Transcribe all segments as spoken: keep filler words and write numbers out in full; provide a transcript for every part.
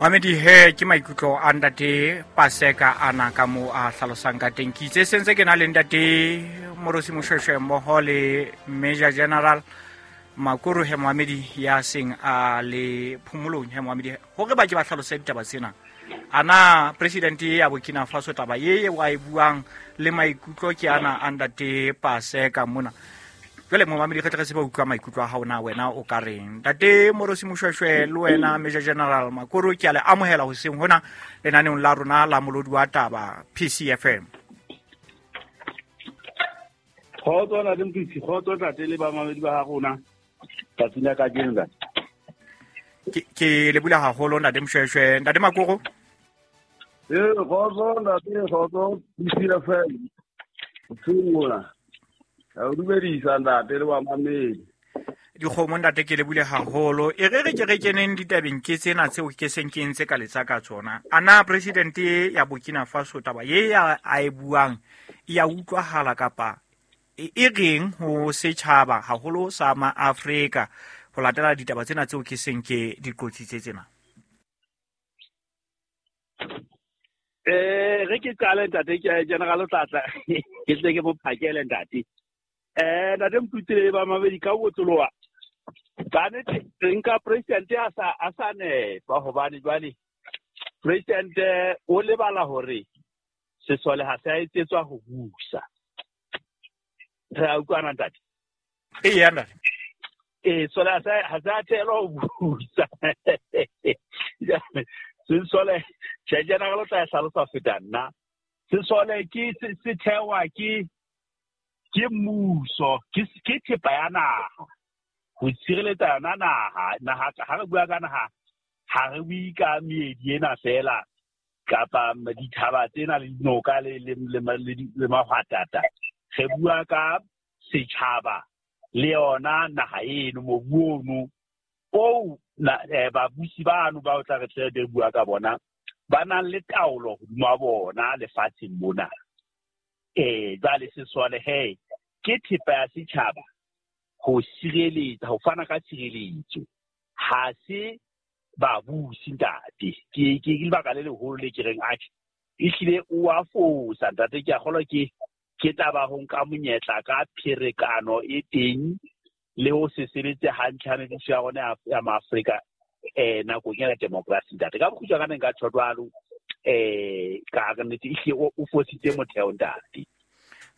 Mamedi he ke maikutlo a ntate Paseka ana ka mo a hlalosang ka teng. Ke itse sentse ke na le ntate Morosi Moshweshwe mmoho le Major General Makuru he Mohamedi ya seng a le phomolong he Mohamedi hore ba ke ba hlalose ditaba tsena. Ana president ya Burkina Faso taba ye wa e buang le maikutlo ke ana a ntate Paseka mona. Jwale momamedi re tle re tsebe ho utlwa maikutlo a hao na wena o ka reng. Ntate Morosi Moshweshwe le wena Major General Makuru ke a le amohela hoseng hona lenaneong la rona la Molodi wa Taba P C F M. Kgotso ntate Mokitsi, kgotso ntate le bamamedi ba ha rona tsatsing la kajeno ntate. Ke, ke le bula haholo ntate Moshweshwe. Ntate Makuru? Eh, kgotso ntate, kgotso P C F M. Tsungula. Ka o dumedisa ntate le bamamedi. Dikgomo ntate ke le bule haholo. E re re ke re keneng ditabeng ke tsena tseo ke seng ke ntse ka letsa ka tsona. Ana president ya Burkina Faso taba ye ya a e buang e ya utlwahala kapa e, e reng ho setjhaba haholo sa ma Afrika ho latela ditaba tsena tseo ke seng ke di qotsitse tsena? Eh, re ke qale ntate ke General Tlatla ke tle ke mo phakele ntate. Eh, ntate Mputsile ba mabedi ka botloloa. Ka nnete re nka president a sa a sa nepa hobane jwale president o lebala hore sesole ha se a etsetswa ho busa. Re a utlwana ntate? Eya ntate. Eh, sole ha se ha se a thelwa ho busa. Sesole tjhe General o tla hlalosa feta nna. Sesole ke se thewa ke ke mmuso, ke ke thepa ya naha. Ho tshireletsa yona naha, naha ha re bua ka naha, ha re bue ka meedi ena fela kapa dithaba tsena le dinoka le le le le mahwatata. Re bua ka setjhaba le yona naha eno, mobu ono oo babusi bano ba o tla re tle re bua ka bona ba nang le taolo hodima bona lefatsheng mona. Eh, jwale sesole he ke thepa ya setjhaba ho sireletsa, ho fana ka tshireletso. Ha se babusi ntate. Ke ke lebaka le leholo le ke reng atjhe ehlile o a fosa ntate. Ke a kgolwa ke ke taba ho nka monyetla ka pherekano e teng le ho se sebetse hantle ha mebuso ya rona ya Maafrika eh nakong ya democracy ntate. Ka bokgutshwa ka nka tjho jwalo eh ka re nnete ehlile o fositse motheo ntate.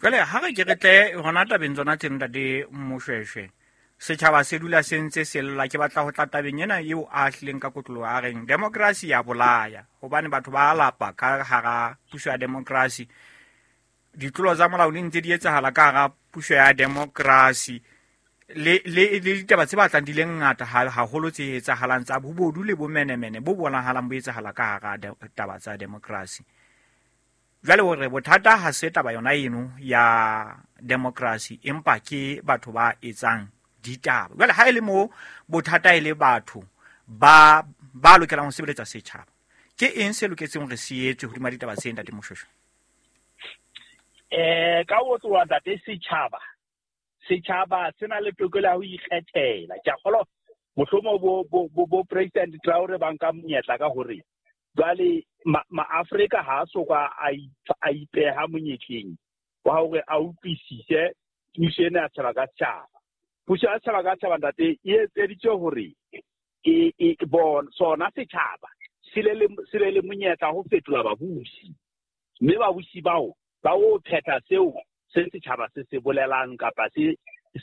Jwale ha re ke re tle hona tabeng tsona tse ntate Moshweshwe, setjhaba se dula se ntse se lla. Ke batla ho tla tabeng ena eo a hlileng ka kotloloho a reng democracy ya bolaya hobane batho ba lapa ka hara puso ya democracy. Ditlolo tsa molao di ntse di etsahala ka hara puso ya democracy le le le ditaba tse batlang di le ngata haholo tse etsahalang tsa bobodu le bomenemene bo bonahalang bo etsahala ka hara taba tsa democracy. Jwale hore bothata ha se taba yona eno ya democracy empa ke batho ba etsang ditaba. Jwale ha e le mo bothata e le batho ba ba lokelang ho sebeletsa setjhaba, ke eng se loketseng hore se etswe hodima ditaba tse ntate Moshweshwe? Eh, ka ho tloha ntate setjhaba setjhaba se na le tokelo ya ho ikgethela. Ke a kgolwa mohlomong bo bo bo President Traore ba nka monyetla ka hore jwale ma-Afrika ha a soka a ipeha monyetleng wa hore a utlwisise puso ena ya setjhaba ka setjhaba. Puso ya setjhaba ka setjhaba ntate e etseditswe hore e e bona sona setjhaba se le se le monyetla ho fetola babusi, mme babusi bao ba o phetha seo se setjhaba se se bolelang kapa se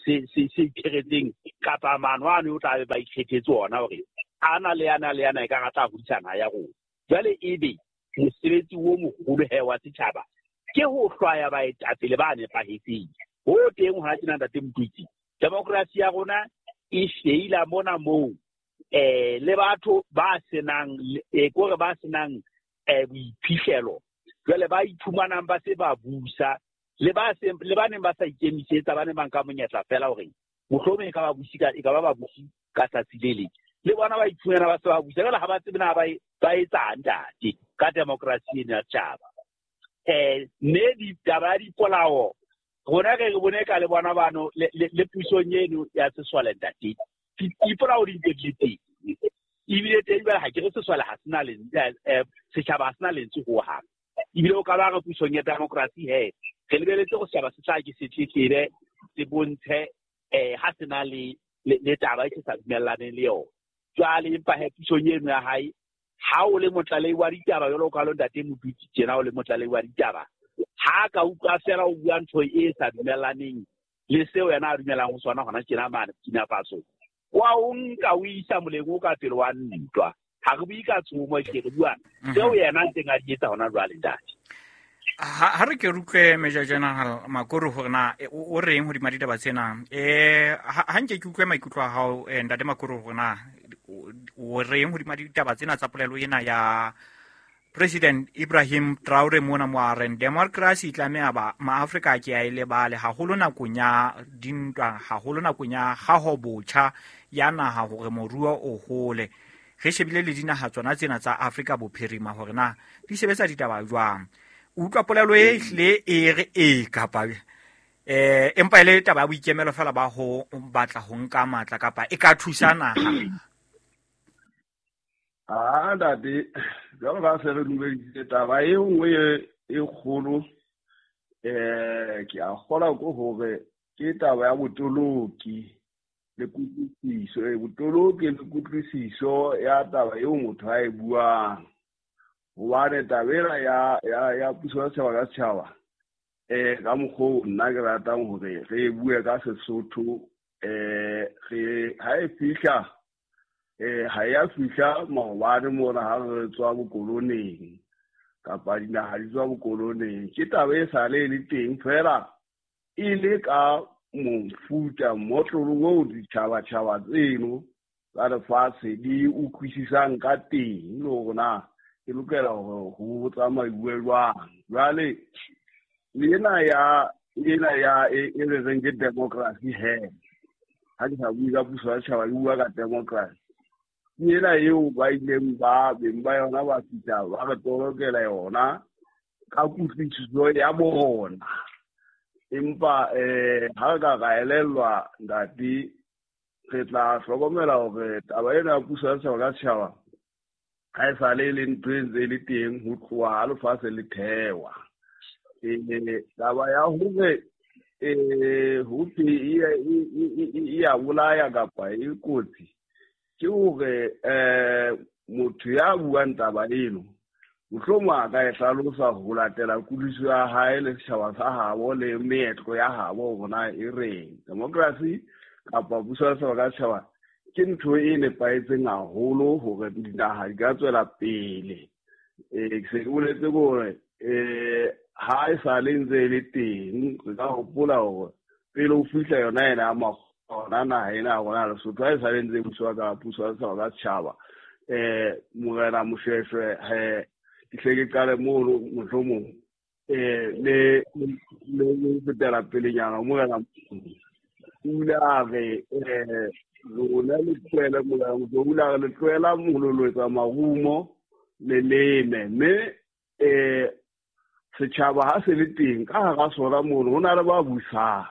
se se se itheretseng kapa maano ano o tla be ba ikgethetse ona hore ana le ana le ana e ka rata hodisa naha ya rona. Jwale ebe mosebetsi o moholo he wa setjhaba ke ho hlwaya baetapele ba nepahetseng. Ho teng hona tjena ntate Mokitsi, democracy ya rona e feila mona moo eh le batho ba senang eh kore ba senang eh boiphihlelo jwale ba iphumanang ba se ba busa le ba se le ba neng ba sa ikemisetsa, ba neng ba nka monyetla fela hore mohlomong e ka ba busi ka e ka ba ba busi ka tsatsi le leng, le bona ba iphumana ba se ba busa jwale ha ba tsebe na ba ba etsang ntate ka democracy ena ya setjhaba. Eh mme ditaba ya dipolao rona re re bone ka le bona bano le le pusong eno ya sesole ntate, dipolao di ntse di le teng. Ebile teng jwale ha ke re sesole ha sena lentswe, setjhaba ha sena lentswe hohang. Ebile o ka ba re pusong ya democracy he, re lebeletse hore setjhaba se tla ke se tletlebe, se bontshe eh ha sena le le taba e se sa dumellaneng le yona. Jwale empa he pusong eno ya hae, ha o le motlalehi wa ditaba jwalo ka lo ntate Modutsi tjena, o le motlalehi wa ditaba, ha ka utlwa fela o bua ntho e sa dumellaneng le seo yena a dumelang ho sona hona tjena mane Burkina Faso, wa o nka o isa moleng o ka pele wa ntwa. Ha re bue ka tshomo, ke re bua seo yena ntseng a di etsa hona jwale ntate. Ha re ke re utlwe Major General Makoro hore na o reng hodima ditaba tsena. Eh ha nke ke utlwe maikutlo a hao ntate Makoro hore na o reng hodima ditaba tsena tsa polelo ena ya President Ibrahim Traore mona mo a reng democracy tlameha ba maAfrika ke a e lebale haholo nakong ya dintwa, haholo nakong ya kgaho botjha ya naha hore moruo o hole. Re shebile le dinaha tsona tsena tsa Afrika Bophirima hore na di sebetsa ditaba jwang. O utlwa polelo e hlile e re e kapa eh empa ile taba ya boikemelo fela ba ho batla ho nka matla kapa e ka thusa naha. Ah ntate, jwalo ka se re dumeditse taba e nngwe e kgolo, eh ke a kgola ko hore ke taba ya botoloki le kutlwisiso, e botoloki le kutlwisiso ya taba eo motho a e buang. Hobane taba ena ya ya ya puso ya setjhaba ka setjhaba, eh ka mokgwa nna ke ratang hore re bue ka Sesotho, eh re ha e fihla eh ha ya fihla maobane mona ha re tswa bokoloneng kapa dinaha di tswa bokoloneng, ke taba e sale e le teng fela e le ka mofuta motlolo oo ditjhabatjhaba tseno tsa lefatshe di utlwisisang ka teng le hore na e lokela hore ho tsamaiwe jwang. Jwale ena ya ena ya e re reng ke democracy he, ha ke sa bue ka puso ya setjhaba, ke bua ka democracy. Ena eo ba ileng ba beng ba yona ba fihla ba re tolokela yona ka kutlwisiso ya bona. Empa eh ha re ka ra elellwa ntate, re tla hlokomela hore taba ena ya puso ya setjhaba ka setjhaba ha e sale e le ntho e ntse e le teng ho tloha ha lefatshe le thewa. Eh taba ya hore eh ho thwe e ya bolaya kapa e kotsi, ke hore eh motho ya buang taba eno mohlomong a ka e hlalosa ho latela kutlwisiso ya hae le setjhaba sa habo le meetlo ya habo hore na e reng. Democracy kapa puso ya setjhaba ka setjhaba ke ntho e nepahetseng haholo hore dinaha di ka tswela pele. Eh ke se ke boletse hore eh ha e sale ntse e le teng, re ka hopola hore pele ho fihla yona ena ya makgona naha ena ya rona Lesotho, ha e sale ntse e buswa ka puso ya setjhaba ka setjhaba, eh Morena Moshweshwe he ke hle ke qale mono mohlomong eh le le le fetela pelenyana Morena o ile a re eh lona le tlohele Morena o ile a re le tlohela mololo marumo le leme, mme eh setjhaba ha se le teng ka hara sona mono ho na le ba busang,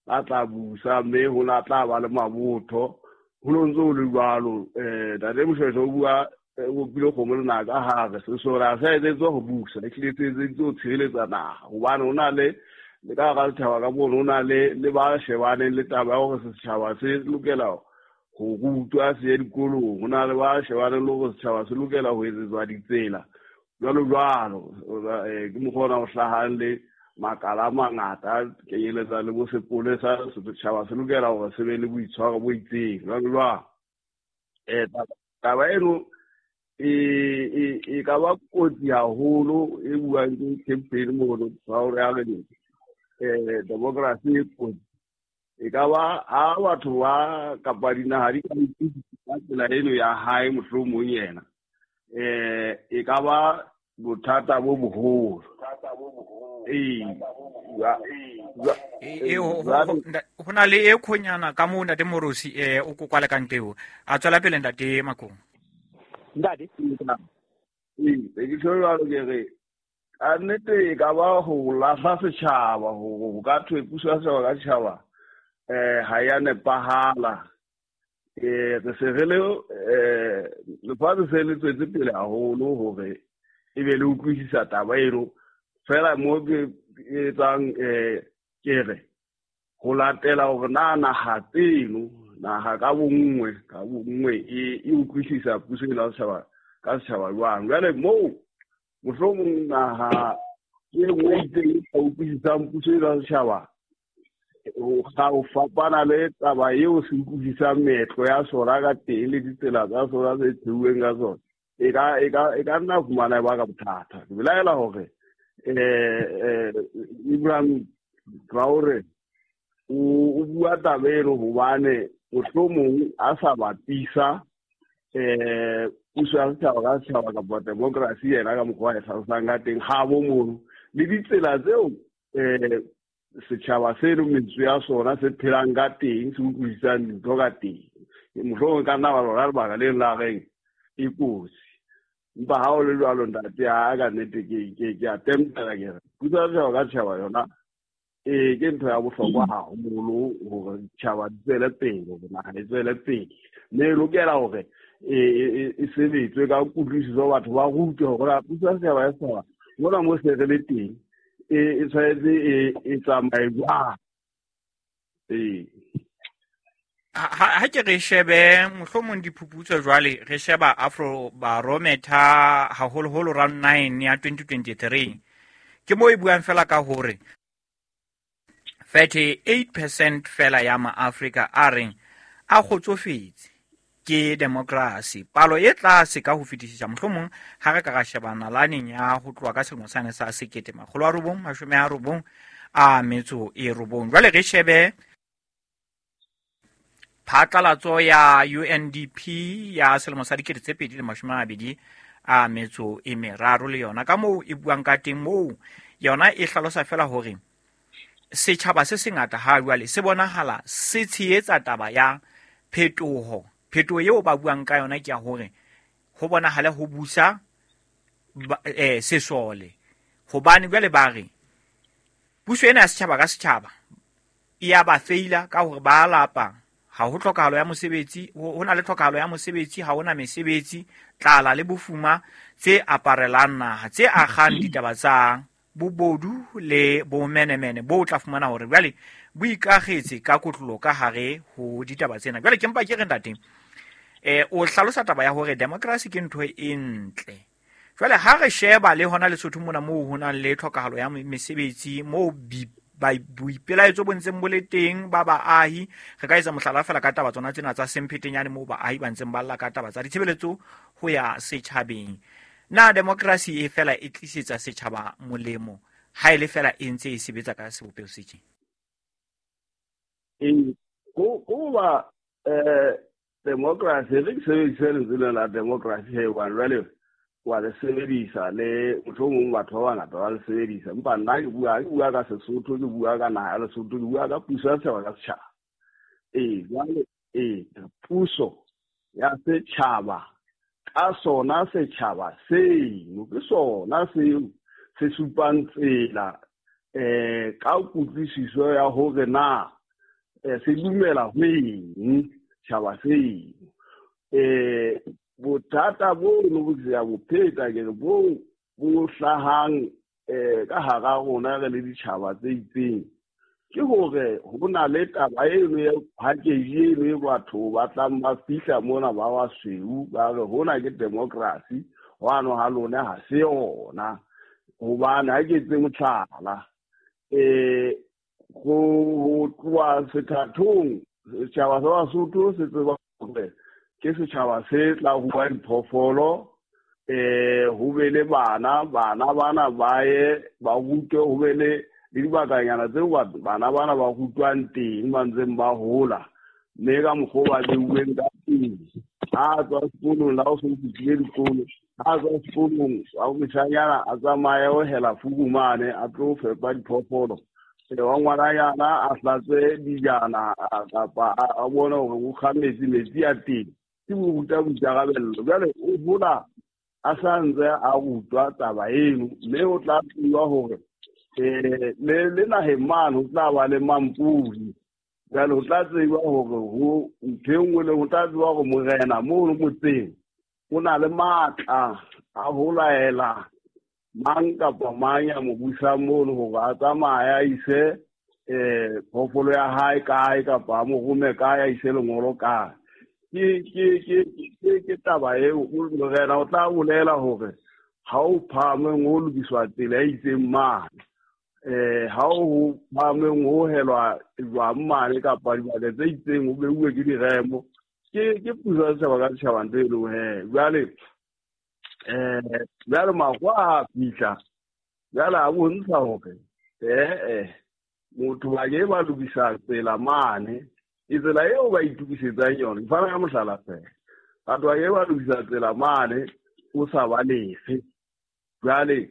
ba tla busa, mme ho na tla ba le mabotho ho no ntse ho le jwalo. Eh ntate Moshweshwe o bua o bile kgomo le naka hare sesole ha se etsetswe ho busa, e hlile se etseditswe ho tshireletsa naha, hobane ho na le le ka hara setjhaba ka mono ho na le le ba shebaneng le taba ya hore setjhaba se lokela ho rutwa se ye dikolong, ho na le ba shebaneng le hore setjhaba se lokela ho etsetswa ditsela jwalo jwalo. Ke mokgwa ona o hlahang le makala a mangata kenyeletsa le bo sepolesa, setjhaba se lokela hore se be le boitshwaro bo itseng jwalo jwalo. Eh taba eno e e e ka ba kotsi haholo e buang ke campaign mono Traore a re eh democracy e kotsi. E ka ba ha batho ba kapa dinaha di ka ka tsela eno ya hae mohlomong yena eh e ka ba bothata bo boholo. Eh e ho na le e khonyana ka moo ntate Morosi eh o kokwala ka nteo a tswela pele ntate Makong. Ntate ee ke tjho jwalo ke re ka nnete e ka ba ho lahla setjhaba hore ho ka thwe puso ya setjhaba ka setjhaba eh ha ya nepahala. Eh re se re le eh lefatshe se le tswetse pele haholo hore e be le utlwisisa taba eno. Fela mo ke etsang eh ke re ho latela hore na naha tseno naha ka bonngwe ka bonngwe e e utlwisisa puso ena ya setjhaba ka setjhaba jwang. Jwale moo mohlomong naha e nngwe e itseng e sa utlwisisang puso ena ya setjhaba ga o fapana le taba eo se utlwisisang meetlo ya sona ka teng le ditsela tsa sona tse theuweng ka tsona, e ka e ka e ka nna fumana e baka bothata. Ke belaela hore eh Ibrahim Traore o bua taba eno hobane mohlomong a sa bapisa eh puso ya setjhaba ka setjhaba kapa democracy yena ka mokgwa a e hlalosang ka teng ha bo mono le ditsela tseo eh setjhaba seno metswe ya sona se phelang ka teng, se utlwisisang dintho ka teng. Mohlomong ka nna ba lona lebaka le la reng e kotsi. Empa ha o le jwalo ntate, ha ka nnete ke ke ke a tempela ke re puso ya setjhaba ka setjhaba yona ee ke ntho ya bohlokwa haholo hore ditjhaba di tswele pele, hore naha e tswele pele. Mme e lokela hore e sebetswe ka kutlwisiso, batho ba rutwe hore puso ya setjhaba ya setjhaba mona mo se re le teng e tshwanetse e tsamaye jwang. Ee ha ke re shebe mohlomong diphuputso jwale re sheba Afrobarometer haholoholo round nine ya twenty twenty-three ke mo e buang fela ka hore thirty-eight percent fela ya maAfrika a reng a kgotsofetse ke democracy, palo e tlase ka ho fetisisa mohlomong ha re ka ra sheba nalaneng ya ho tloha ka selemo sane sa sekete makgolo a robong mashome a robong a metso e robong. Jwale re shebe phatlalatso ya U N D P ya selemo sa dikete tse pedi le mashome a mabedi a metso e meraro le yona ka moo e buang ka teng, moo yona e hlalosa fela hore setjhaba se sengata ha jwale se bonahala se tshehetsa taba ya phetoho. Phetoho eo ba buang ka yona ke ya hore ho bonahale ho busa eh sesole, hobane jwale ba re puso ena ya setjhaba ka setjhaba e ya ba feila ka hore ba lapa, ha ho tlhokahalo ya mosebetsi, ho na le tlhokahalo ya mosebetsi, ha hona mesebetsi, tlala le bofuma tse aparelang naha, tse akgang ditaba tsa bobodu le bomenemene bo tla fumana hore jwale bo ikagetse ka kotlolo ka hare ho ditaba tsena. Jwale ke mpa ke re ntate eh o hlalosa taba ya hore democracy ke ntho e ntle. Jwale ha re sheba le hona Lesotho mona moo ho nang le tlhokahalo ya mesebetsi, moo boipelaetso bo ntseng bo le teng ba baahi, re ka etsa mohlala fela ka taba tsona tsena tsa Semphetenyane moo baahi ba ntseng ba lla ka taba tsa ditshebeletso ho ya setjhabeng. Na democracy e fela e tlisetsa setjhaba molemo ha e le fela e ntse e sebetsa ka sebopeho se tjena? Ee, ko ba eh democracy re sebedisa lentswe la democracy he hobane jwale wa le sebedisa le mohlomong batho ba bangata ba le sebedisa, empa nna ke bua ke bua ka Sesotho, ke bua ka naha ya Lesotho, ke bua ka puso ya setjhaba ka setjhaba. Ee, jwale ee puso ya setjhaba ka sona setjhaba seno ke sona seo se supang tsela eh ka kutlwisiso ya hore na se dumela ho eng setjhaba seno. Eh bothata bono bo ke ya bo pheta ke re bo bo hlahang eh ka hara rona re le ditjhaba tse itseng ke hore ho na le taba eno ya package eno e batho ba tlang ba fihla mona ba basweu ba re hona ke democracy, hwano ha lona ha se yona. Hobane ha ke etse mohlala eh go tloha sethathong setjhaba sa Basotho se tseba hore ke setjhaba se tla rua diphoofolo, eh ho be le bana, bana bana ba ye ba rutwe, ho be le le dibakanyana tseo bana bana ba rutwang teng ba ntseng ba hola, mme ka mokgwa o ba beuweng ka teng. Ha tswa sekolong la o so fihlile dikolo, ha tswa sekolong wa moshanyana a tsamaye ho hela fukumane a tlo fepa diphoofolo, wa ngwananyana a hlatswe dijana kapa a bone hore o kga metsi, metsi a teng, ke mo ruta boikarabello. Jwale o hola a sa ntse a rutwa taba eno, mme o tla tseba hore eh le le naheng mane ho tla ba le mampodi. Jwale ho tla tseba hore ho ntho e nngwe le ho tla tseba hore morena mono motseng o na le matla a ho laela mang kapa mang ya mo busang mono hore a tsamaye a ise eh phoofolo ya hae kae kapa a mo rome kae a ise lengolo kae. Ke ke ke ke ke taba eo morena o tla bolela hore ha o phahameng ho lokiswa tsela e itseng mane, eh ha o phahameng ho helwa jwang mane kapa dibaka tse itseng ho beuwe ke diremo. Ke ke puso ya setjhaba ka setjhaba ntho e leng he. Jwale eh jwale makgowa a fihla jwale a bontsha hore eh eh motho ba ke ba lokisa tsela mane, e tsela eo ba itukisetsang yona. Ke fana ka mohlala fela, batho ba ke ba lokisa tsela mane o sa ba lefe. Jwale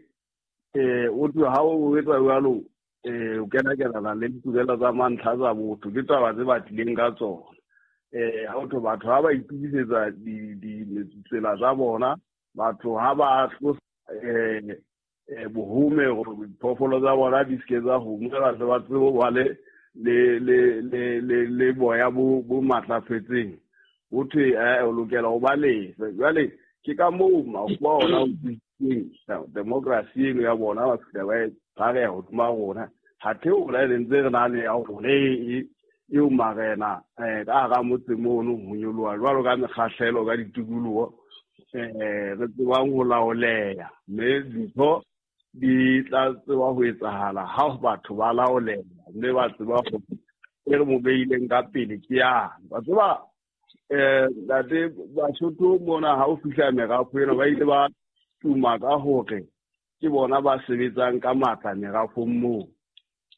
eh o tlo ha o etsa jwalo eh o kena kenana le ditokelo tsa mantlha tsa botho, ke taba tse ba tlileng ka tsona. Eh ha o tlo batho ha ba itukisetsa di di tsela tsa bona, batho ha ba tlosa eh eh bohome hore diphoofolo tsa bona di se ke tsa homa, ba tle ba tsebe ho ba le le le le le le boya bo bo matlafetseng. Ho thwe eh o lokela ho ba lefe. Jwale ke ka moo makgowa ona o tsitseng democracy eno ya bona ba fihla ba e tshwareha hodima rona. Ha theola e le ntse re na le ya rona e eo marena eh ka hara motse mono ho nyoloha jwalo ka mekgahlelo ka ditikoloho eh re tsebang ho laoleha, mme dintho di tla tseba ho etsahala ha batho ba laoleha mme ba tseba hore e re mo beileng ka pele ke yang. Ba tseba eh ntate Basotho mona ha o fihla merafo ena ba ile ba tuma ka hore ke bona ba sebetsang ka matla merafong moo.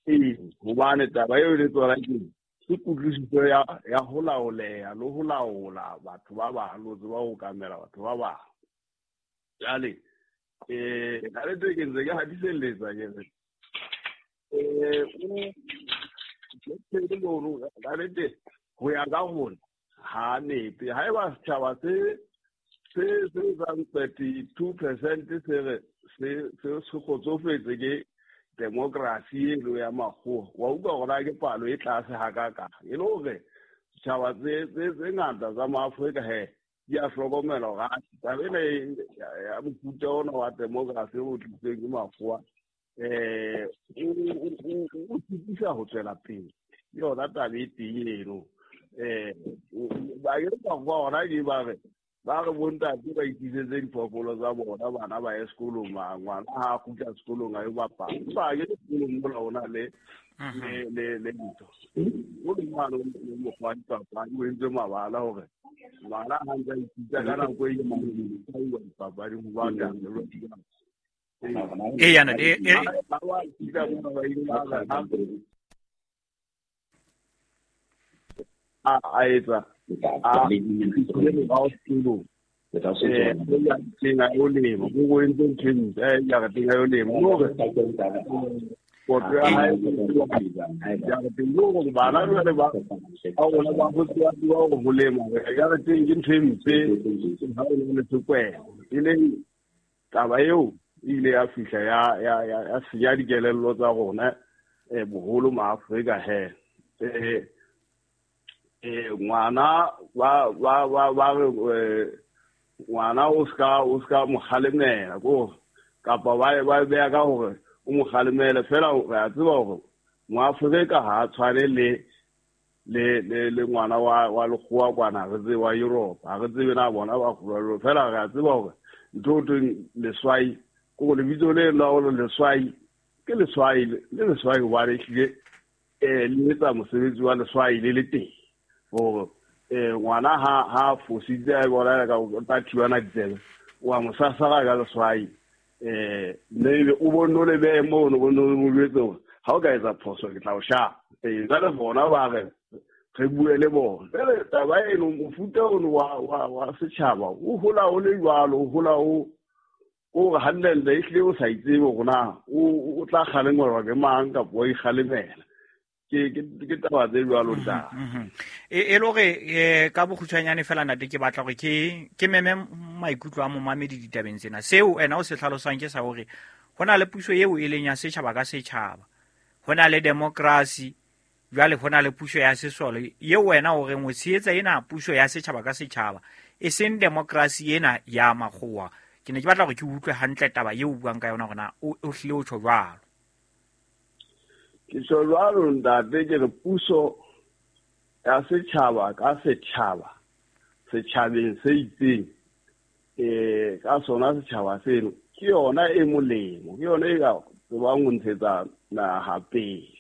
Ee, hobane taba eo le tsona ke ke kutlwisiso ya ya ho laoleha le ho laola batho ba bang, le ho tseba ho okamela batho ba bang. Jwale eh ka le ke ntse ke hatiselletsa ke re eh o ka nnete ho ya ka rona ha nepe. Haeba setjhaba se se se etsang thirty-two percent se re se se se kgotsofetse ke democracy eno ya makgowa, wa utlwa hore na ke palo e tlase hakakang. E le hore setjhaba tse tse tse ngata tsa maAfrika he di a hlokomela hore taba ena ya mofuta ona wa democracy o tlisitsweng ke makgowa eh o sitisa ho tswela pele. Ke yona taba e teng eno. Eh ba ke makgowa ona ke ba re ba re bontate ba ikisetse diphoofolo tsa bona, bana ba ye sekolong, ngwana ha a kgutla sekolong a yo bapala. Empa ke sekolong mola ho na le le le le ntho. O le ngwana o mokgwa wa dipapadi o entse mabala hore ngwana ha ntse a ithuta ka nako e itseng a iwa dipapading ho ba teng. Ee, yana e e Ba wa ithuta mona ba ile ba re ha a a etsa a fihlile morao sekolong. Eh, jareteng a yo lema, o entse ntho e ntle, eh, jareteng a yo lema. Hore kotlo ya hae jareteng ke hore bana jwale ba ba rona ba ho tseba tseba hore ho lema jareteng ke ntho e mpe ha o le sekwele. E leng taba eo e ile ya fihla ya ya ya ya senya dikelello tsa rona eh boholo maAfrika he. Eh eh ngwana ba ba ba ba re ngwana o ska o ska mo kgalemela ko kapa ba ba beya ka hore o mo kgalemele fela. Re a tseba hore moAfrika ha a tshwane le le le le ngwana wa wa lekgowa kwana re tsebe wa Europe, ha re tsebe na bona ba kgolwa fela. Re a tseba hore ntho o thweng leswai ke hore lebitso le la hore leswai ke leswai le leswai hobane ehlile eh le etsa mosebetsi wa leswai le le teng. Hore eh ngwana ha ha fositse a bona ka o tla thibana ditsebe wa mo sasara ka leswai eh mme o bonno le behe mono bonno mo jwetse hore ha o ka etsa phoso ke tla o shapa. Eh jwale bona ba re re bue le bona. Jwale taba eno mofuta ono wa wa wa setjhaba o hola o le jwalo, o hola o o re hantle ehlile o sa itsebe hore na o o tla kgalengelwa ke mang kapa wa ikgalemela. Ke ke ke taba tse jwalo ntate. E e le hore eh ka bokgutshwanyane fela ntate ke batla hore ke ke meme maikutlo a momamedi ditabeng tsena. Seo ena o se hlalosang ke sa hore ho na le puso eo e leng ya setjhaba ka setjhaba, ho na le democracy Jwale ho na le puso ya sesole ye wena o reng o tshehetsa ena puso ya setjhaba ka setjhaba, e seng democracy ena ya makgowa. Ke ne ke batla hore ke utlwe hantle taba eo o buang ka yona hore na o hlile o tjho jwalo. Ke tjho jwalo ntate, ke re puso ya setjhaba ka setjhaba setjhabeng se itseng, eh ka sona setjhaba seno ke yona e molemo, ke yona e ka tsebang ho ntshetsa naha pele.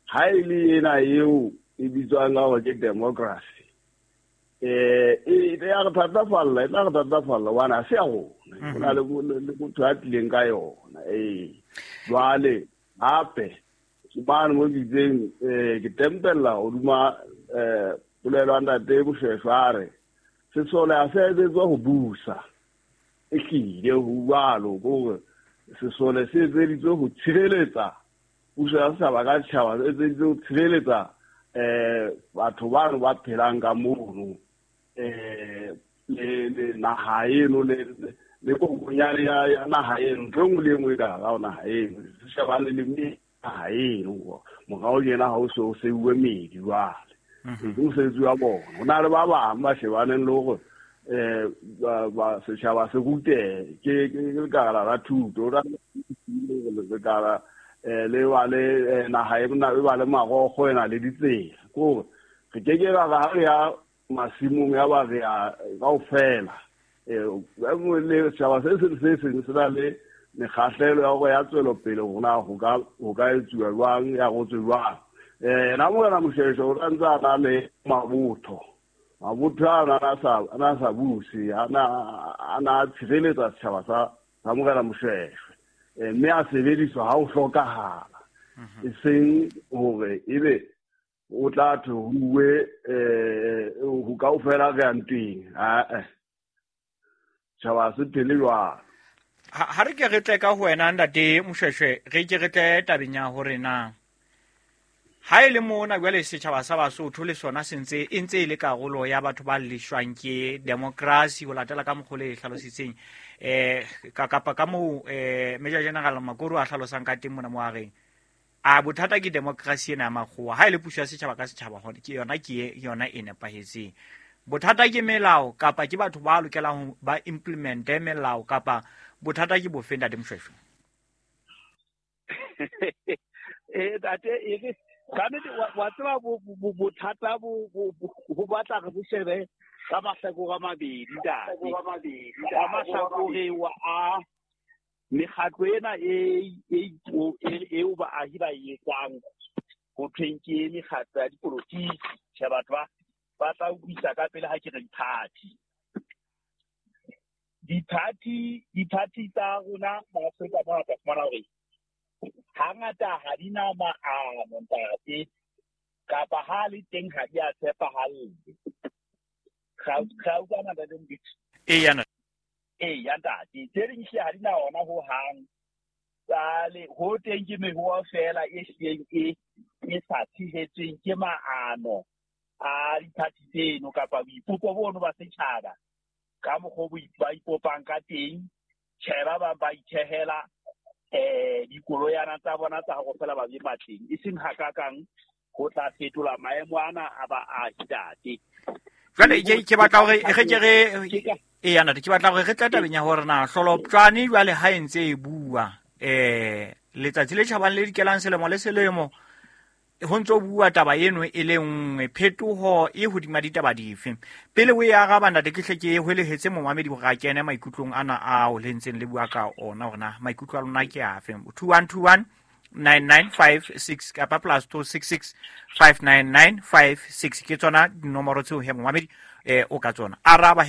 Ha e le ena eo e bitswang ka hore ke democracy, eh e ya re thatafalla, e tla re thatafalla hobane ha se ya rona, ho na le motho a tlileng ka yona. Ee, jwale hape ke bane mo ke itseng, eh ke tempella hodima eh polelo ya ntate Moshweshwe a re sesole ha se etsetswa ho busa, ehlile ho jwalo, ke hore sesole se etseditswe ho tshireletsa puso ya setjhaba ka setjhaba, se etseditswe ho tshireletsa eh batho bano ba phelang ka mono, eh le le naha eno le le kokonyane ya ya naha eno, ntho e nngwe le e nngwe e ka hara ho naha eno, se shebane le naha eno. Morao tjena ha o se o seuwe medi jwale, ke mosebetsi wa bona. Ho na le ba bang ba shebaneng le hore eh ba setjhaba se rutehe, ke ke lekala la thuto, lekala eh le ba le naha e ba le marokgo e na le ditsela. Ke hore re ke ke ra ha re ya masimong ya ba re ya kaofela, eh le setjhaba se seng se seng se na le mekgahlelo ya hore ya tswelopele hore na ho ka ho ka etsuwa jwang, ya rotswe jwang. Eh na morena Moshweshwe o ntse a na le mabotho, mabotho ana a sa ana sa buse, ana ana tshireletsa setjhaba sa sa morena Moshweshwe, mme a sebediswa ha ho hlokahala, e seng hore ebe o tla thwe ho uwe eh ho kaofela re yang teng. Ah, setjhaba se phele jwalo. Ha re ke re tle ka ho wena ntate Moshweshwe, re ke re tle tabeng ya hore na ha e le mona jwale setjhaba sa Basotho le sona se ntse e ntse e le karolo ya batho ba leshwang ke democracy ho latela ka mokgwa le hlalositseng, eh ka kapa ka moo eh Major General Makoro a hlalosang ka teng mona mo a reng a bothata ke democracy ena ya makgowa, ha e le puso ya setjhaba ka setjhaba hone ke yona ke yona e nepahetseng. Bothata ke melao kapa ke batho ba lokelang ba implemente melao kapa bothata ke bofe ntate Moshweshwe? Eh ntate, e re ka nnete wa tseba bothata bo ho batla re bo shebe ka mahlakore a mabedi ntate. Ka mahlakore wa a mekgatlo ena e e eo baahi ba e etsang ho thweng ke mekgatlo ya dipolotiki, tjhe batho ba ba tla utlwisa ka pele ha ke re di-party. Di-party di-party tsa rona ma Afrika mona tla fumana hore hangata ha di na maano ntate, kapa ha le teng ha di a tshepahalle. Ga utlwana ntate Mbitsi? Eya ntate. Eya ntate, tse ding hle ha di na ona ho hang. Jwale ho teng ke mehoa feela e hlileng e e sa tshehetsweng ke maano a di-party tseno kapa boipopo bono ba setjhaba ka mokgwa o ba ipopang ka teng. Tjhe, ba bang ba ithehela eh dikoloyana tsa bona tsa hore fela ba be matleng, e seng hakakang ho tla fetola maemo ana a baahi ntate. Jwale ke ke batla hore re ke re eya ntate, ke batla hore re tle tabeng ya hore na hloloptjwane jwale ha e ntse e bua eh letsatsi le tjhabang le dikelang selemo le selemo ho ntso bua taba eno e le nngwe, phetoho e hodima ditaba dife? Pele o e araba ntate, ke hle ke hwelehetse momamedi hore a kene maikutlong ana ao le ntseng le bua ka ona, hore na maikutlo a lona ke afe. two one two one nine nine five six kapa plus two six six five nine nine five six ke tsona dinomoro tseo he momamedi eh o ka tsona araba he.